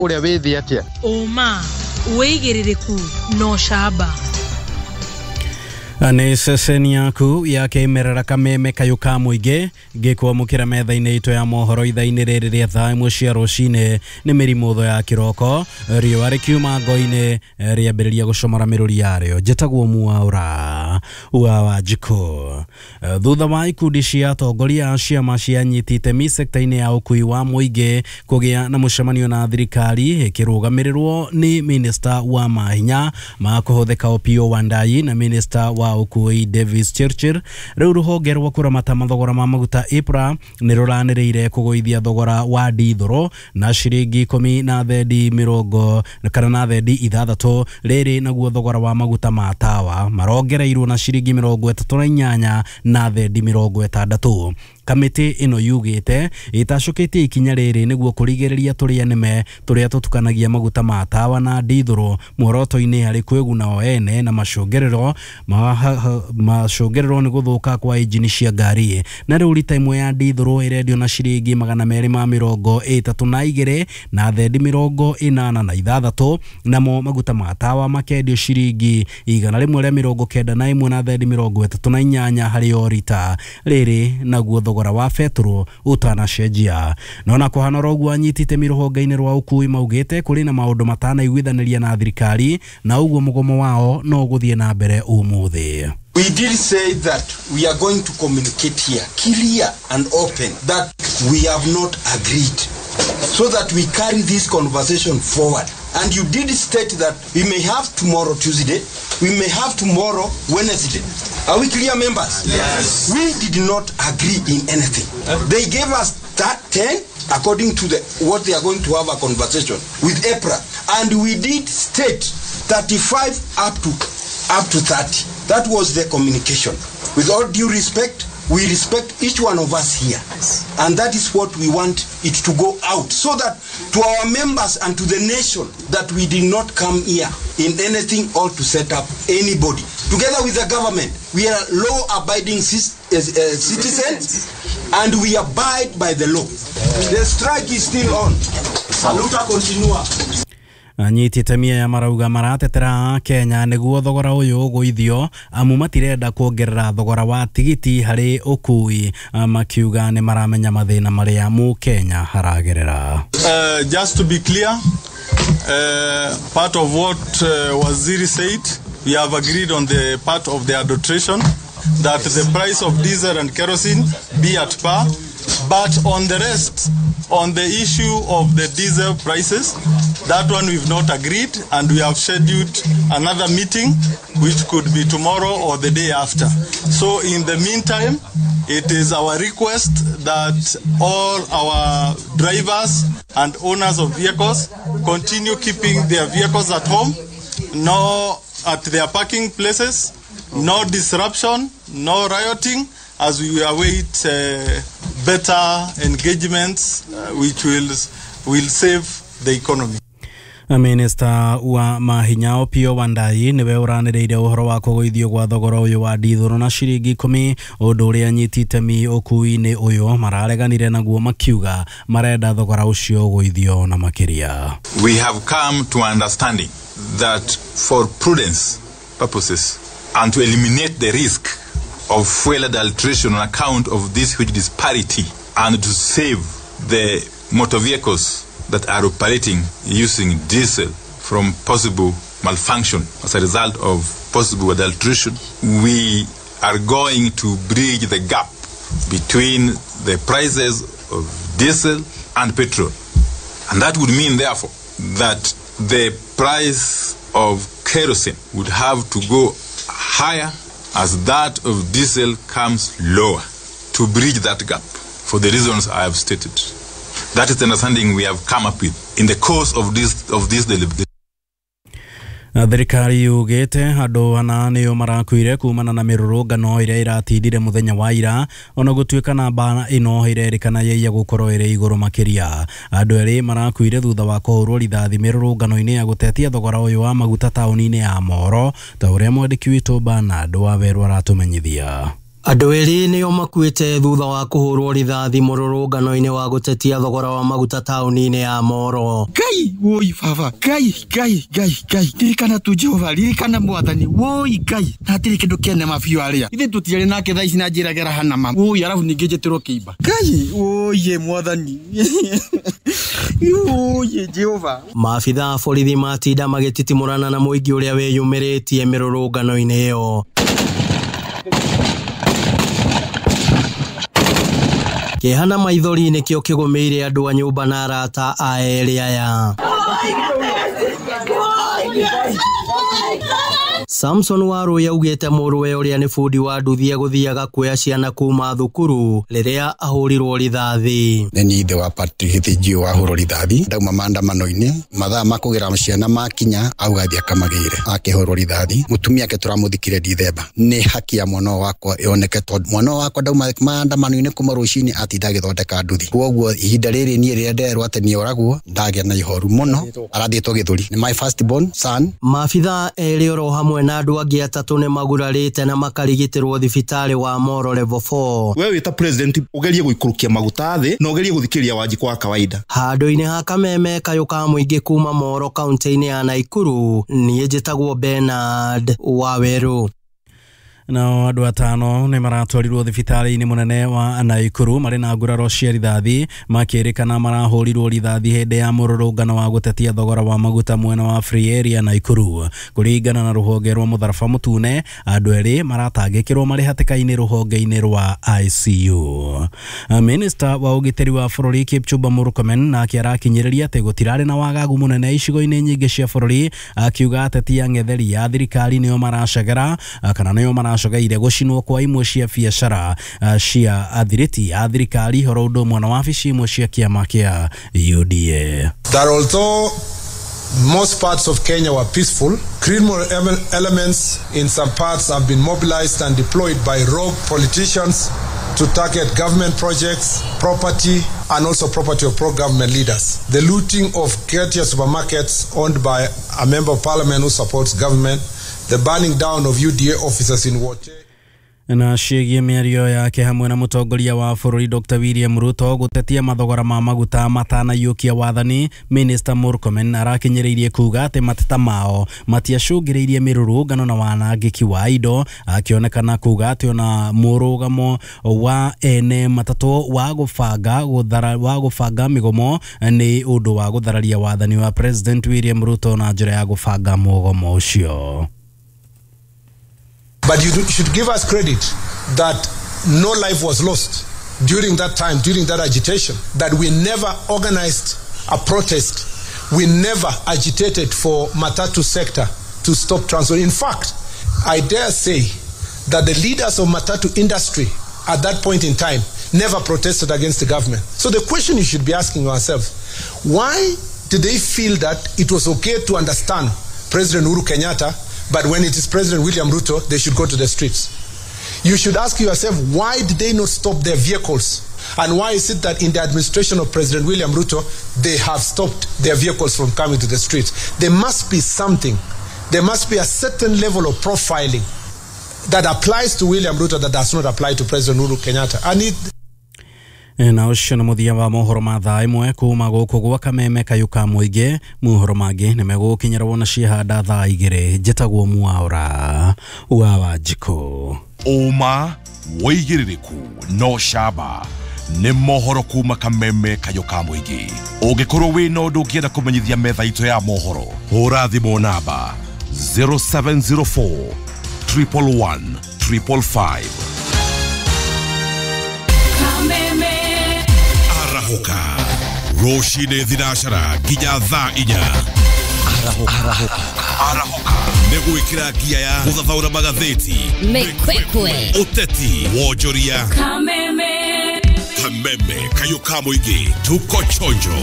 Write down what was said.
Ũrĩa wĩ thĩ atĩa? Ũma, wĩigĩrĩrĩku na ũcamba. Nĩ ceceni yaku ya kĩmerera kameme kayũ ka mũingĩ ngĩkwamũkĩra metha-inĩ itũ ya mohoro ithaa-inĩ rĩrĩ rĩa thaa 1 cia rũcinĩ. Nĩ mĩrimũ ya kĩroko, riũa rĩkiuma ngo-inĩ rĩambĩrĩria gũcomora mĩrũri yarĩo. Njĩtagwo Mwaũra wa Wanjikũ. Thutha wa ikundi cia atongoria a ciama cia anyiti itemi sekta-inĩ ya ũkui wa mũingĩ kũgĩa na mũcemanio na thirikari ĩkĩrũgamĩrĩrwo nĩ minista wa mahinya ma kũhũthĩka Opiyo Wandayi na minista wa ũkui Davis Chirchir, rĩu rũhonge rwa kũramata mathogora ma maguta EPRA nĩ rũranĩrĩire kũgũithia thogora wa ndithũrũ na ciringi 10 na thendi mĩrongo kana na thendi 6. Rĩrĩ naguo thogora wa maguta ma tawa marongereirwo na ciringi 38 na thendi 60. Kamĩtĩ ĩno yugĩte ĩtacũkĩtie ikinya rĩrĩ nĩguo kũrigĩrĩria tũrĩa nĩme tũrĩa tũtukanagia maguta ma tawa na ndithũrũ muoroto-inĩ harĩ kwĩguna o ene na macũngĩrĩro nĩ gũthũka kwa injini cia ngari. Na rĩu rita ĩmwe ya ndithũrũ ĩrendio na ciringi 232 na thendi 86, namo maguta ma tawa makendio ciringi 191 na thendi 38 harĩ o rita. Rĩrĩ naguo thogora wa betũrũ ũtanacenjia. Nona kũhana ũguo anyiti itemi rũhonge-inĩ rwa ũkui maugĩte kũrĩ na maũndũ matanaiguithanĩria na thirikari na ũguo mũgomo wao no ũgũthiĩ na mbere ũmũthĩ. We did say that we are going to communicate here clear and open that we have not agreed, so that we carry this conversation forward. And you did state that we may have tomorrow Tuesday, we may have tomorrow Wednesday. Are we clear, members? Yes. We did not agree in anything. They gave us that 10 according to what they are going to have a conversation with EPRA. And we did state 35 up to 30. That was the communication. With all due respect, we respect each one of us here. Yes. And that is what we want it to go out, so that to our members and to the nation that we did not come here in anything or to set up anybody. Together with the government, we are law-abiding citizens and we abide by the law. The strike is still on. Saluta continua. Anyiti itemi aya marauga maratetera Kenya nĩguo thogora ũyũ ũgũithio amu matirenda kuongerera thogora wa tigiti harĩ ũkui, makiuga nĩ maramenya mathĩna marĩa mũkenya haragerera. Just to be clear, part of what Waziri said, we have agreed on the part of the adulteration that the price of diesel and kerosene be at par, but on the rest, on the issue of the diesel prices, that one we've not agreed, and we have scheduled another meeting, which could be tomorrow or the day after. So in the meantime, it is our request that all our drivers and owners of vehicles continue keeping their vehicles at home, no at their parking places, no disruption, no rioting, as we await better engagements which will save the economy. Minista wa mahinya Opiyo Wandayi niwe ũranĩrĩire ũhoro wa kũgũithio gwa thogora ũyũ wa ndithũrũ na ciringi 10, ũndũ ũrĩa anyiti itemi ũkui-inĩ ũyũ marareganire naguo makiuga marenda thogora ũcio ũgũithio na makĩria. We have come to understanding that for prudence purposes and to eliminate the risk of fuel adulteration on account of this huge disparity and to save the motor vehicles that are operating using diesel from possible malfunction as a result of possible adulteration, we are going to bridge the gap between the prices of diesel and petrol. And that would mean, therefore, that the price of kerosene would have to go higher as that of diesel comes lower to bridge that gap for the reasons I have stated. That is the understanding we have come up with in the course of this deliberation. Thirikari yugĩte andũ ana nĩo marakuire kumana na mĩrũrũngano ĩrĩa ĩratindire mũthenya wa ira, ona gũtuĩka namba ĩno ĩrerĩkana yaiya gũkorwo ĩrĩ igũrũ makĩria. Andũ erĩ marakuire thutha wa kũhũrwo rithathi mĩrũrũngano-inĩ ya gũtetia thogora ũyũ wa maguta taũni-inĩ ya Moro, ta ũrĩa mwandĩki witũ Bernard Wawerũ aratũmenyithia. Andũ erĩ nĩo makuĩte thutha wa kũhũrwo rithathi mũrũrũngano-inĩ wa gũtetia thogora wa maguta taũni-inĩ ya Moro. Ngai woi baba, Ngai Ngai Ngai Ngai, ririkana tu Jehova, ririkana Mwathani, woi Ngai, na hatirĩ kĩndũ kĩene mabiũ arĩa ithe tũtiarĩ nake thaa ici na njĩragera hana ma woi, arabu ningĩ njĩtĩrwo kĩimba. Ngai woi Mwathani, woi Jehova. Maabitha a borithi matinda magĩtitimũrana na mũingĩ ũrĩa wĩyumĩrĩtie mĩrũrũngano-inĩ ĩyo. Kĩeha na maithori nĩkĩo kĩgũmĩire andũ a nyũmba na arata a erĩ aya. Samson Warui augĩte mũrũwe ũrĩa nĩ bundi wa nduthi egũthiaga kuoya ciana kuma thukuru rĩrĩa ahũrirwo rithathi. Nĩ niĩ ithe wa Patrick Gĩthĩnjio wahũrwo rithathi, ndauma maandamano-inĩ, mathaa ma kũgĩra ciana makinya auga athiĩ akamagĩre, akĩhũrwo rithathi. Mũtumia ake tũramũthikire Dithemba. Nĩ haki ya mwana wakwa ĩoneke tondũ mwana wakwa ndauma maandamano-inĩ kuma rũcinĩ atinda agĩthondeka nduthi. Kwoguo ihinda rĩrĩ niĩ rĩrĩa nderwo atĩ nĩoragwo ndagĩa na ihoru mũno, arathiĩtwo gĩthũri. Nĩ my first born son. Maabitha erĩ oro hamwe na andũ angĩ atatũ nĩ magurarĩte na makarigitĩrwo thibitarĩ wa Moro level 4. We wĩ ta president ũgerie gũikũrũkia maguta thĩ na ũgerie gũthikĩrĩria Wanjikũ wa kawaida. Handũ-inĩ ha Kameme kayũ ka mũingĩ kuma Moro kaunti-inĩ ya Naikuru, niĩ njĩtagwo Bernard Wawerũ. Nao andũ atano nĩ maratwarirwo thibitarĩ-inĩ mũnene wa Naikuru marĩ na nguraro cia rithathi, makĩrĩkana marahũrirwo rithathi hĩndĩ ya mũrũrũngano wa gũtetia thogora wa maguta mwena wa Free Area Naikuru. Kũringana na rũhonge rwa Mũtharaba Mũtune, andũ erĩ maratangĩkĩrwo marĩ hatĩka-inĩ rũhonge-inĩ rwa ICU. Minista wa ũgitĩri wa bũrũri Kipchumba Murkomen nake arakinyĩrĩria atĩ gũtirarĩ na wagagu mũnene icigo-inĩ nyingĩ cia bũrũri, akiuga ateti ang'etheri a thirikari nĩo maracagera kana nĩo maracogeire gũcinwo kwa imwe cia biacara cia athiriti a thirikari horo ũndũ ũmwe na wabici imwe cia kĩama kĩa UDA. That although most parts of Kenya were peaceful, criminal elements in some parts have been mobilized and deployed by rogue politicians to target government projects, property, and also property of pro-government leaders. The looting of Ketia supermarkets owned by a member of parliament who supports government, the burning down of UDA officers in Wote. Na ciĩgiĩ mĩario yake hamwe na mũtongoria wa bũrũri Dr. William Ruto gũtetia mathogora ma maguta matanaiyũkia wathani, Minister Murkomen arakinyĩrĩirie kuga atĩ mateta mao matiacũngĩrĩirie mĩrũrũngano na wanangĩki wa indo, akĩonekana kuga atĩ ona mũrũgamo wa ene matatũ wa gũbanga mĩgomo nĩ ũndũ wa gũthararia wathani wa President William Ruto na njĩra ya gũbanga mũgomo ũcio. But you should give us credit that no life was lost during that time, during that agitation, that we never organized a protest. We never agitated for matatu sector to stop transport. In fact, I dare say that the leaders of matatu industry at that point in time never protested against the government. So the question you should be asking yourself, why did they feel that it was okay to understand President Uhuru Kenyatta, but when it is President William Ruto, they should go to the streets? You should ask yourself, why did they not stop their vehicles? And why is it that in the administration of President William Ruto, they have stopped their vehicles from coming to the streets? There must be something. There must be a certain level of profiling that applies to William Ruto that does not apply to President Uhuru Kenyatta. And it na ũcio nĩ mũthia wa mohoro ma thaa ĩmwe kuma gũkũ gwa Kameme kayũ ka mũingĩ. Mohoro mangĩ nĩ megũkinyĩra wona ciehanda thaa igĩrĩ. Njĩtagwo Mwaũra wa Wanjikũ. Ũma wĩigĩrĩrĩku no camba nĩ mohoro kuma Kameme kayũ ka mũingĩ. Ũngĩkorwo wĩna ũndũ ũngĩenda kũmenyithia metha itũ ya mohoro, hũra thimũ namba 0704 111 555. Arahoka rũcinĩ thinacara nginya thaa inya. Arahoka nĩ gwĩkĩra ngia ya gũthathaũra magathĩti, mĩkwekwe, ũteti, wonjoria. Kameme Kameme kayũ ka mũingĩ, tuko chonjo.